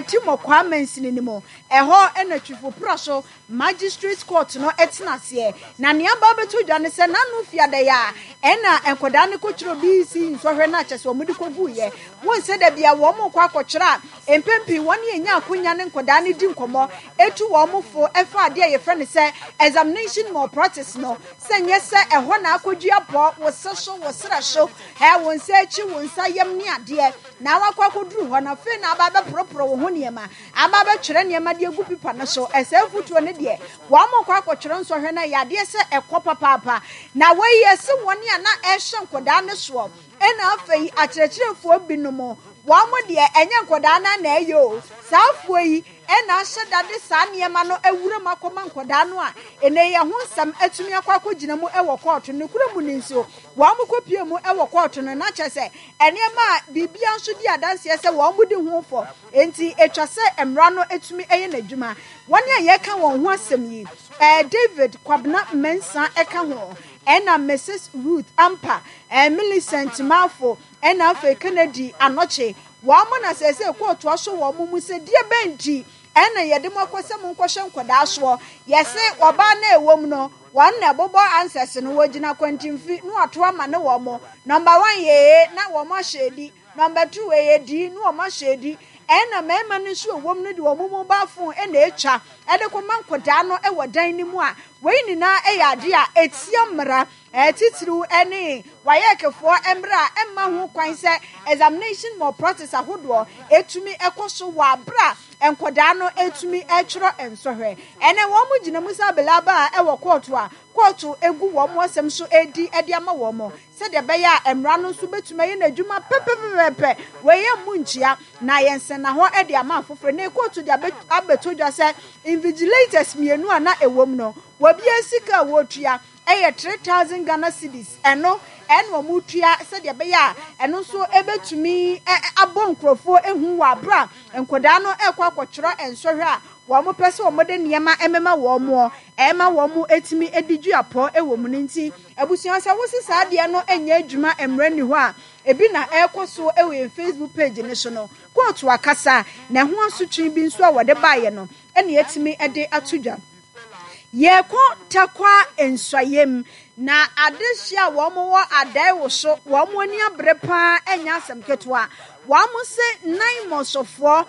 Timor mansini no mu. Ɛhɔ na Twifo Praso Magistrate Court no tena aseɛ. Na nea aba abɛtɔ dwa ne sɛ n'ano fiada yi a ɛna nkwadaa no kɔtwerɛ BEC nsɔhwɛ no a kyɛ sɛ wɔde kɔguiɛ. Wohu sɛ da bia wɔn rekɔ akɔtwerɛ a, mpɛn pii wɔn ne yɛnya akonya ne nkwadaa no di nkɔmmɔ, ɛtu wɔn fo ɛfa adeɛ a yɛfrɛ no sɛ examination malpractice no, sɛ nyɛ sɛ ɛhɔ na akɔdua pɔ, wo se so, wo serɛ so, wo nsa akyi, wo nsa yam ne adeɛ. Na wakɔ akɔduru hɔ no, afei na aba abɛporoporo wo ho nneɛma, aba abɛtwerɛ nneɛma de agu pipa no so. Ɛsɛ afotuo no deɛ, wɔrekɔ akɔtwerɛ nsɔhwɛ no, ɛyɛ adeɛ sɛ ɛkɔ papaapa. Na wei yɛse wɔn a na ɛrehyɛ nkwadaa no soɔ, ɛna afei akyerɛkyerɛfoɔ binom, wɔn deɛ ɛnyɛ nkwadaa no na ɛyɛ o. Saa afoɔ yi ɛna ahyɛ da de saa nneɛma no awura mu akɔma nkwadaa no a, ɛnɛ yi ɛho nsɛm atumi akɔ akɔgyina mu wɔ kɔɔto. Nokorɛ mu no nso, wɔkɔpue mu wɔ kɔɔto no, na kyerɛ sɛ Nneɛma a biribiara nso di adanseɛ sɛ wɔdi ho fɔ, enti ɛtwa sɛ mmara no tumi yɛ n'adwuma. Wɔn a yɛreka wɔn ho asɛm yi, David Kwabena Mensah ka ho, ɛna Mrs. Ruth Ampa, Millicent Marfo, ɛna afei Kennedy Anokye. Wɔn na seesei kóotu asɔ wɔn mu sɛ deɛ bɛn nti ɛna yɛde mo akɔ sɛ monkɔhwɛ nkwadaa soɔ. Yɛse ɔbaa no a ɛwɔ mu no, Wɔn na ɛbobɔ answers no, wɔgyina kwantimfi na wɔato ama ne wɔn. Number one yɛ A na wɔn ahyɛ adi, number two ɛyɛ D na wɔn ahyɛ adi. Ɛna mmarima no nso ɛwom no de wɔn mobile phone na ɛtwa ɛde kɔma nkwadaa no wɔ dan no mu a, wei nyinaa ɛyɛ adeɛ a ɛtia mmara titiriw ɛne WAECfoɔ mmara a ɛmma ho kwan sɛ examination malpractice ahodoɔ ɛtumi ɛkɔ so wɔ abere a nkwadaa no ɛtumi ɛtwerɛ nsɔhwɛ. Ɛnnɛ, wɔgyina mu sɛ abelaba a ɛwɔ kɔɔto a kɔɔto gu wɔn asɛm so redi de ama wɔn, sɛdeɛ ɛbɛyɛ a mmara no nso bɛtumi ayɛ n'adwuma pɛpɛpɛpɛ. Wei yɛ mmu nkyea, na ayɛ nsɛnnahɔ de ama afoforɔ. Ɛnnɛ yi, kɔɔto de abɛto dwa sɛ invigilators mmienu a na ɛwom no, obiara sika a wɔretua yɛ 3000 Ghana cedis. Ɛno na wɔretua sɛdeɛ ɛbɛyɛ a ɛno nso bɛtumi abɔ nkurɔfoɔ hu wɔ aberɛ a nkwadaa no rekɔ akɔtwerɛ nsɔhwɛ a Wɔpɛ sɛ wɔde nneɛma mema wɔn, ɛma wɔtumi di duapɔ wɔ mu no nti, abusua sɛ wose saa adeɛ no nyɛ adwuma mmerɛ nni hɔ a, ebi na ɛrekɔ so wɔ yɛn Facebook page no so no. Kóotu akasa na ɛho asotwe bi nso a wɔde baeɛ no na yɛatumi de ato dwa. Yɛrekɔ Tarkwa Nsuaem, na adehye a wɔwɔ Adaewoso, wɔn ani abere paa ɛnyɛ asɛm ketewa. Wɔn se Naimɔsfoɔ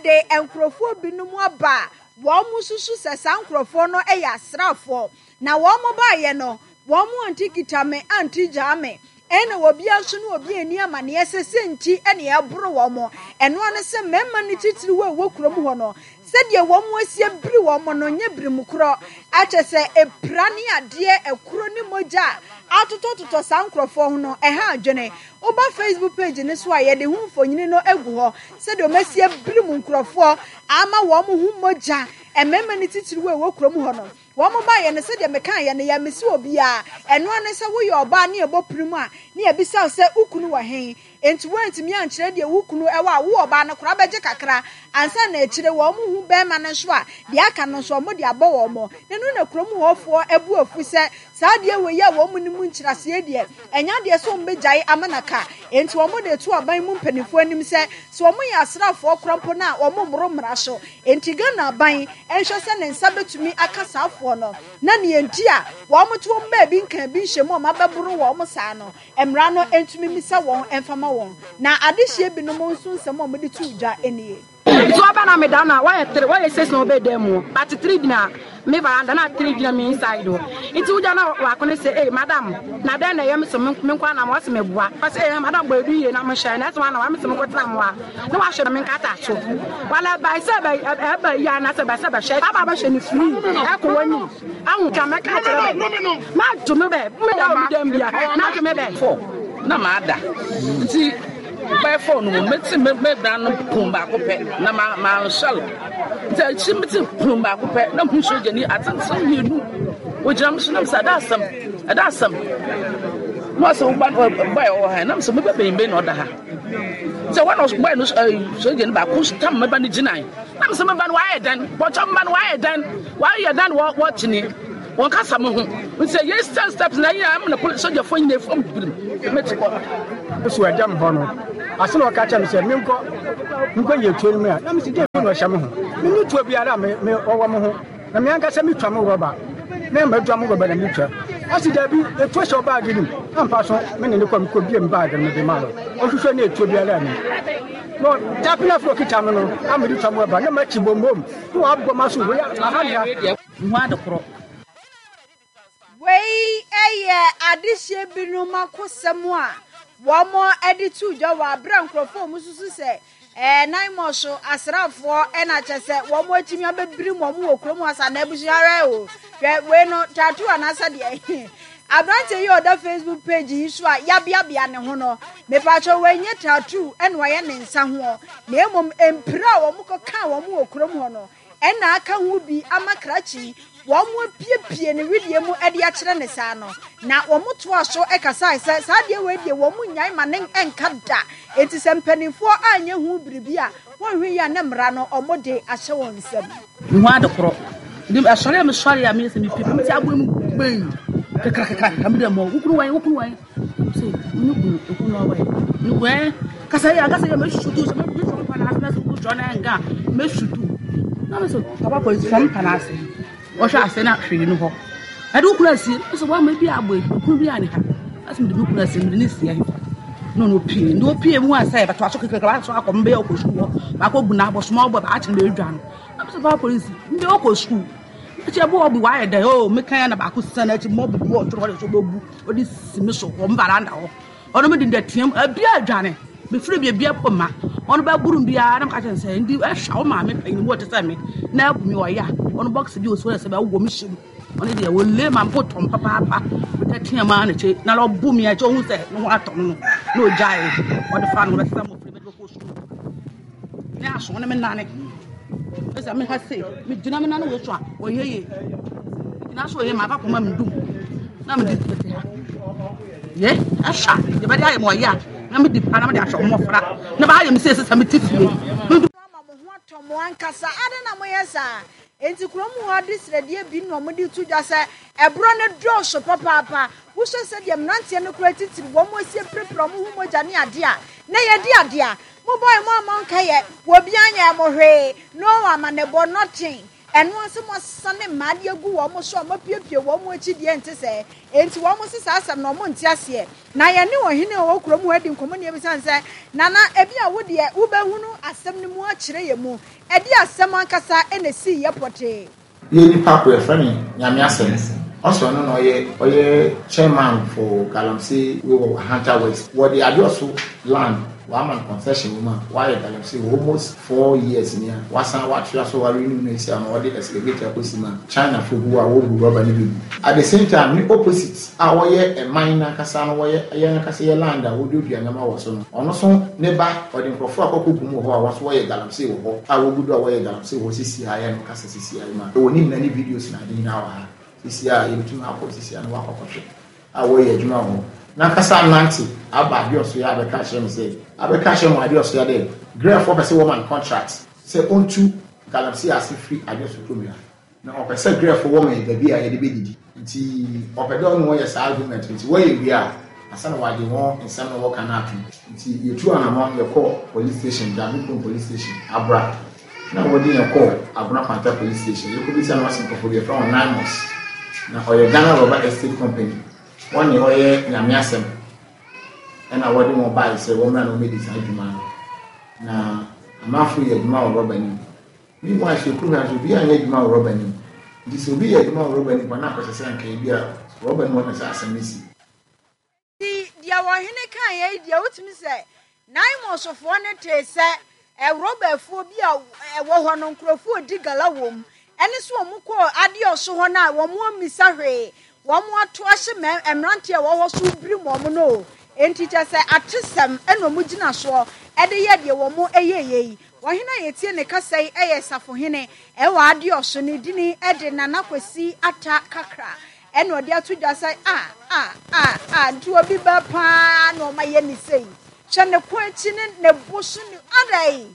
de nkurɔfoɔ binom aba a wɔsusu sɛ saa nkurɔfoɔ no yɛ asraafoɔ. Na wɔbaeɛ no, wɔn ante kita me ante gyaa me. Ɛna obiara nso ne obi anni amaneɛ sɛ sɛ nti na ɛboro wɔn. Ɛno ara ne sɛ mmarima no titiriw a ɛwɔ kurom hɔ no, sɛdeɛ wɔn asi abiri wɔn no nyɛ birim korɔ. Akyɛ sɛ ɛpira ne adeɛ, ɛkuro ne mogya a atotɔtotɔ saa nkurɔfoɔ ho no, ɛha adwene. Woba Facebook page no so a, yɛde ho mfonini no agu hɔ sɛdeɛ wɔasi abirim nkurɔfoɔ ama wɔn ho mogya, mmarima no titiriw a ɛwɔ kurom hɔ no. Wɔn baeɛ no, sɛdeɛ mekaeɛ no, yɛammisa obiara. Ɛno ara ne sɛ woyɛ ɔbaa ne yɛbɔ pirim a, ne yɛbisa wo sɛ wo kunu wɔ he? Enti woantumi ankyerɛ deɛ wo kunu wɔ a, wo ɔbaa no koraa bɛgye kakra ansa na akyire wɔn hu barima no nso a, deɛ aka no nso wɔde abɔ wɔn. Na ɛno na kurom hɔfoɔ bo afu sɛ Saa adeɛ wei a wɔn nnim nkyerɛaseɛ deɛ, ɛnyɛ adeɛ sɛ wɔbɛgyae ama no aka. Enti wɔde reto aban mu mpanimfoɔ anim sɛ, sɛ wɔyɛ asraafoɔ koraa mpo no a, wɔmmoro mmara so. Enti Ghana aban nhwɛ sɛ ne nsa bɛtumi aka saa afoɔ no, na nea enti a wɔte wɔn baabi nka bi nhyɛ mu a wɔabɛboro wɔn saa no, mmara no ntumi mmisa wɔn mfa ma wɔn. Na adehyeɛ binom nso nsɛm a wɔde too dwa nie. Nti ɔba na meda no a wɔyɛ tre wɔyɛ six na ɔbɛ dan mu hɔ but tre gyina me veranda na tre gyina me inside hɔ nti wogya na waako ne sɛ ee madam na dɛn na ɛyɛ me so me nko na wɔse me boa ɔse ee madam bɔ edu yie na mo hyɛ na ɛsɛ wɔn na wɔn se me kɔ tena mo a na wahwɛ me nkata so wala ba sɛ bɛ ɛbɛ yi ana sɛ bɛ sɛ bɛhwɛ aba bɛhwɛ ne free ɛkɔ wɔn ni ahu ka mɛka kyerɛ bɛ ma to me bɛ me da obi dɛm bia na to me bɛ. Fɔ na maa da nti. Bɛyɛ fɔɔ no mu mete me me dan no pon baako pɛ na ma mansɔre nti akyi mete pon baako pɛ na hu sogyani atenten mmienu wɔgyina me so na mesɛ ɛda asɛm ɛda asɛm na ɔsɛ wo ba bɔyɛ wɔ ha na mesɛ meba bɛn bɛn na ɔda ha sɛ wɔn na bɔyɛ no sogyani baako tam meba no gyinae na mesɛ meba no wayɛ dɛn bɔtɔ meba no wayɛ dɛn wayɛ dɛn wɔ wɔkyene Wɔn kasa mo ho nti ɛyɛ stand steps na ɛyɛ amena poli sogyafoɔ nyina efam birim mete kɔ. So ɛda me hɔ no ase na ɔka kyerɛ me sɛ menkɔ nkɔ yɛ tuo no mu a na mesi dɛ. Na ɔhyɛ me ho. Menni tuo biara a me me ɔwɔ me ho. Na me ankasa metwa mo rɔba. Me madwa mo rɔba na metwa. Ɔsi dabi, etuo hyɛ wo baage no mu. Ampa so, me ne ne kɔ mekɔ bie me baage no mede maa no. Ɔhwehwɛ na etuo biara nni mu. Na ɔtape no afei ɔkita me no a mede twa mo rɔba na makyi bombom na wabɔ m'aso wei aha ne ha. Mehu ade korɔ. Wei yɛ adehyeɛ binom akosɛm a wɔde to dwa wɔ aberɛ a nkurɔfoɔ a wɔsusu sɛ ɛɛ Naimɔso asraafoɔ ɛna kyɛ sɛ wɔn atumi abɛbirim wɔn wɔ kurom hɔ sa na abusua hwɛ o hwɛ wei no tattoo anaasɛ deɛ aberanteɛ yi a ɔda Facebook page yi so a yabeabea ne ho no mepaakyɛ wɔnyɛ tattoo ɛna ɔyɛ ne nsa hoɔ na mmom mpira a wɔn kɔkaa wɔn wɔ kurom hɔ no Ɛna aka ho bi ama krakye yi, wɔapiepie ne wedeɛ mu de akyerɛ no saa no. Na wɔtoaa so kasae sɛ, saa adeɛ wei deɛ wɔn nnyae ma no nka da. Enti sɛ mpanimfoɔ anyɛ ho biribi a, wɔnhwɛ yie a na mmara no wɔde ahyɛ wɔn nsam. Mehu ade korɔ. Nti ɛsɔre a mesɔre a meyɛ sɛ mepie pɛ mete aboa mu gbɛn kakrakakra mede mɔ wokunu wan wokunu wan sɛ ne kunu okunu na ɔwɔ ne kunu ɛ kasa yɛ akasa yɛ mɛsutu sɛ mɛdu fam pa n'ase na sɛ wotwa na nka mɛsutu na mɛ sɛ papa polisi fam pa n'ase wɔhwɛ ase na hwee no hɔ ɛde wokunu asie sɛ wɔama bi abɔ okunu bi a ne ha asɛ mede me kunu asie mede ne sie ahefa na ɔno opie ne opie mu asɛ bɛto aso kekeke aso akɔ mbɛyɛ ɔkɔ sukuu hɔ baakɔ bu na abɔsoma ɔbɔ baakye na ɛdwa no na mɛ sɛ papa polisi mbɛyɛ ɔkɔ sukuu akyi ɛbo ɔbi wayɛ dɛ o meka ya na baako sisa n'akyi mɔ bi wɔ ɔtoro hɔ de so bɛbu ɔde sisi me so wɔ me varanda hɔ ɔno me de ndɛteam ebi adwane mefiri bi ebi ɛpo ma ɔno bɛburu biara na meka kyerɛ sɛ ndi ɛhwɛ wo maame panyin mu ɔte sɛ me na abu me ɔya ɔno box bi osi hɔ sɛ bɛwɔ me hyɛ mu ɔno deɛ wɔle ma mpo tɔm papaapa metɛteam a na kyɛ na ɔbu me akyɛ ɔhu sɛ ne ho atɔ no no na ɔgyae ɔde fa no bɛsesa mmɔfra bɛde bɛkɔ sukuu Ne aso ne me nane. Ɛsɛ me ha sei, me gyina me nane wei so a, ɔyɛ yie. Gyina so ɔyɛ ma aba kɔma me dum. Na me di tete ha. Ye, ɛhwa, yɛ bɛde ayɛ ma ɔyɛ a, na me di pa na me de ahyɛ ɔmɔfra. Na ba ayɛ me sei sɛ me ti fie. Me du. Ama mo ho atɔ mo ankasa. Adɛn na moyɛ saa? Enti kurom hɔ adesrɛdeɛ bi na wɔde reto dwa sɛ ɛborɔ no dɔɔso papaapa. Wohwɛ sɛdeɛ mmeranteɛ no koraa titiri wɔn asi apirapira wɔn ho mogya ne adeɛ a, na yɛde adeɛ a mobɔe mo ammɔ nkaeɛ, obiara nyɛɛ mo hwee, no amanebɔ, nothing. Ɛno ara sɛ moasane mmaa de agu wɔn so a moapiapia wɔn akyi deɛ ɛnte sɛɛ. Enti wɔn se saa asɛm no wɔn nte aseɛ. Na yɛne ɔhene a ɔwɔ kurom hɔ adi nkɔmmɔ na yɛbisa no sɛ, Nana, ebia wo deɛ wobɛhunu asɛm no mu akyerɛ yɛn mu. Ɛdeɛn asɛm ankasa na ɛsiiɛ pɔtee? Yɛ nipa ko yɛfrɛ no Nyame Asɛm ɔsɛ ɔno na ɔyɛ ɔyɛ chairman for galamsey wei wɔ Ahanta West wɔde Adeɔso land wama no concession wɔ mu a wayɛ galamsey wɔ almost 4 years ni a wasan watoa so wa renew no esi ama ɔde excavator akɔsi mu a China fo gu a wɔbu rɔba no bi gu. At the same time ne opposite a wɔyɛ ɛman no ankasa no wɔyɛ yɛn ankasa yɛ land a wɔduadua nneɛma wɔ so no ɔno so ne ba ɔde nkurɔfoɔ akɔkɔ gu mu wɔ hɔ a wɔn nso wɔyɛ galamsey wɔ hɔ a wɔgu do a wɔyɛ galamsey wɔ hɔ sisi a yɛn no kasa sisi a yi ma ɛwɔ ne nyinaa ne videos na ade nyinaa wɔ ha sisi a yɛbɛtumi akɔ sisi a na wakɔ akɔhwɛ a wɔyɛ adwuma wɔ hɔ n'ankasa anante aba adeɛ ɔso yɛ abɛka akyerɛ me sɛ abɛka akyerɛ mu adeɛ ɔso yɛ dɛ grɛfoɔ pɛ sɛ wɔma no contract sɛ ɔntu galamsey ase firi adeɛ ɔso kurom ha na ɔpɛ sɛ grɛfoɔ wɔma yɛ baabi a yɛde bɛdidi nti ɔpɛ dɛ ɔne wɔyɛ saa agreement nti wɔyɛ wie a ansa na wɔagye wɔn nsɛm na wɔka no atom. Nti yɛtu anamɔn yɛkɔɔ police station Dame police station Abra na wɔde yɛn kɔɔ Agona Kwanta police station yɛkɔbisa no ɔse nkurɔfoɔ bi yɛfrɛ wɔn Nimos na ɔyɛ Ghana Rubber Estate Company wɔn ne ɔyɛ Nyame asɛm ɛna wɔde wɔn baeɛ sɛ wɔmmra na wɔmmɛdi saa adwuma no na amanfoɔ yɛ adwuma wɔ rɔba no mu. Meanwhile sɛ kurom ha nso obiara nyɛ adwuma wɔ rɔba no mu nti sɛ obi yɛ adwuma wɔ rɔba no mu a na akɔhyɛ sɛ anka ebi a rɔba no mu hɔ na saa asɛm no si. Enti deɛ ɔhene kaeɛ yi deɛ, wotumi sɛ Naimosfoɔ no tee sɛ rɔba afuo bi a ɛwɔ hɔ no nkurɔfoɔ redi gala wɔ mu, ɛne sɛ wɔn kɔɔ adeɛ ɔso hɔ no a wɔn ammisa hwee, wɔn ato ahye mmeranteɛ a ɛwɔ hɔ so birim wɔn no o. Enti kyerɛ sɛ atesɛm na wɔn gyina soɔ de yɛ deɛ wɔn yɛeɛ yi. Ɔhene a yɛtie ne kasa yi yɛ safohene wɔ adeɛ ɔso, ne dini de Nana Kwasi Atta Kakra. Ɛna ɔde ato dwa sɛ, Ah, ah, ah, ah, nti obi ba paa na ɔma yɛ ne sei. Hwɛ ne ko akyi ne ne bo so ne, adɛn?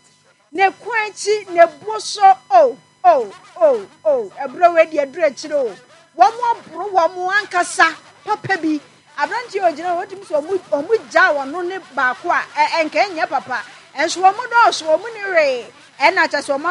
Ne ko akyi, ne bo so, oh, oh, oh, oh, ɛberɛ wei deɛ aduru akyire o. Wɔn aboro wɔn ankasa papa bi. Aberanteɛ a ɔgyina hɔ, wotumi sɛ wɔn, wɔn gyaa ɔno ne baako a, ɛ, ɛnka ɛnyɛ papa. Ɛnso wɔn dɔɔso, wɔn ni hwee. Ɛna kyɛ sɛ wɔn.